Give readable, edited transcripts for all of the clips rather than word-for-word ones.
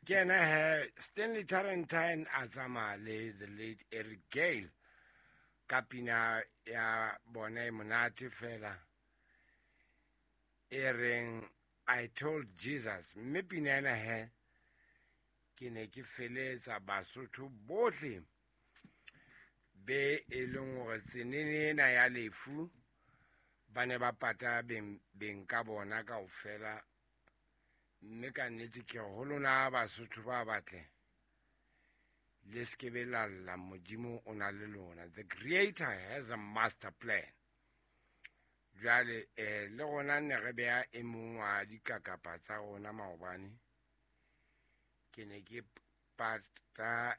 Ke ena he Stanley Tarentine a tsamaya le the late Eric Gale ka pina ya bona e monate fela e reng I Told Jesus. Mme pina ena he ke ne ke feletsa Basotho bohle be e leng hore tsenene ena ya lefu ba ne ba pata beng ka bona kaofela. Mme ka nnete ke re ho lona Basotho ba batle, le se ke be la lla, Modimo o na le lona. The creator has a master plan. Jwale le rona ne re beha e mong wa dikakapa tsa rona maobane. Ke ne ke pata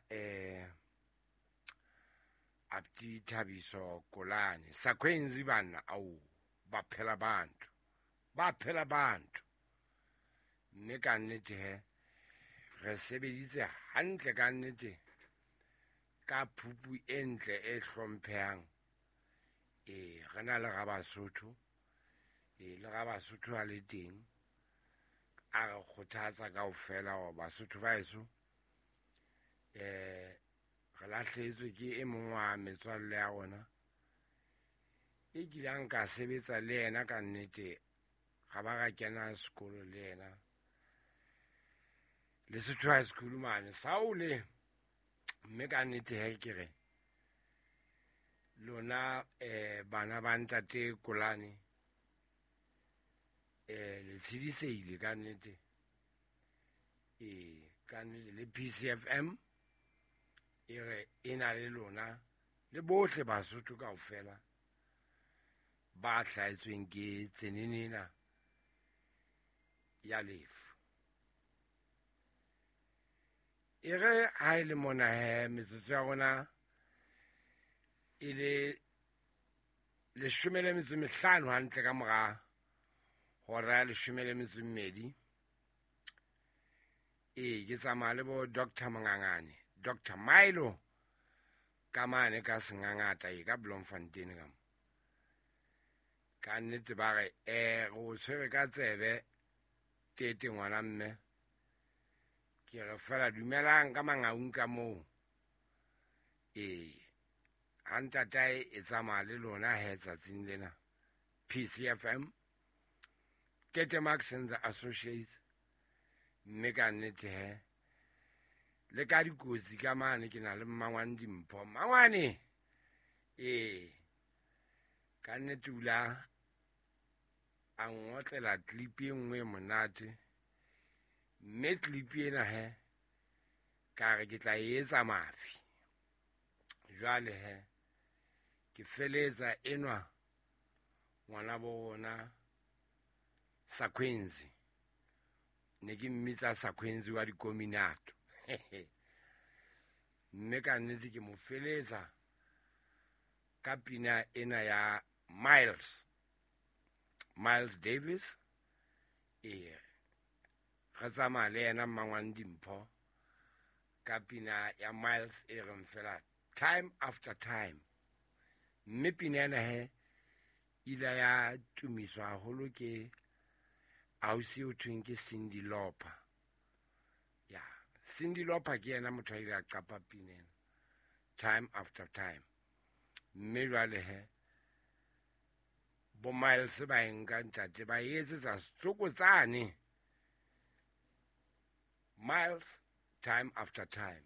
Abdi Thabiso Kolane Sakhwenzi banna au ba phela bantu, ba phela bantu. Mme ka nnete he re sebeditse hantle ka nnete ka phupu e ntle e hlomphehang. Re na le Rabasotho, le Rabasotho a le teng a re kgothatsa kaofela hore Basotho ba heso re lahlehetswe ke e mong wa metswalle ya rona e kileng ka sebetsa le yena ka nnete, ga ba ra kena sekolo le yena Lesotho High School mane Saole. Mme ka nnete he ke re lona bana ba ntate Kolane le tshediseile ka nnete. Ka nnete le PCFM e re e na le lona le bohle Basotho kaofela ba hlahetsweng ke tsenene ena ya lefu. E re ha e le mona he metsotso ya rona e le 15 hantle ka mora hora ya 12. Ke tsamaya le bo Doctor Mongangane, Doctor Milo ka mane ka Sengangata e ka Bloemfontein ka mo. Ka nnete ba re re o tshwere ka tsebe tete ngwana mme. Ke re fela dumelang ka Mangaung ka moo. Ha ntatae e tsamaya le lona he tsatsing lena. PCFM, Tete Max and the Associates. Mme ka nnete he le ka dikotsi ka mane ke na le mmangwane Dimpho. Mmangwane! Ka nnete o la a ngotlela clip e nngwe e monate. Mme clip ena he ka re ke tla e etsa mafi. Jwale he ke feletsa enwa ngwana bo rona Sakhwenzi. Ne ke mmitsa Sakhwenzi wa dikominato. Mme ka nnete ke mo feletsa ka pina ena ya Miles. Miles Davis. Re tsamaya le yena mmangwane Dimpho ka pina ya Miles e reng fela Time After Time. Mme pina ena he ile ya tumiswa haholo ke ausi o thweng ke Cyndi Lauper. Ya, Cyndi Lauper ke yena motho a ile a qapa pina ena Time After Time. Mme jwale he bo Miles ba e nka ntate ba e etsetsa setsokotsane. Miles, Time After Time.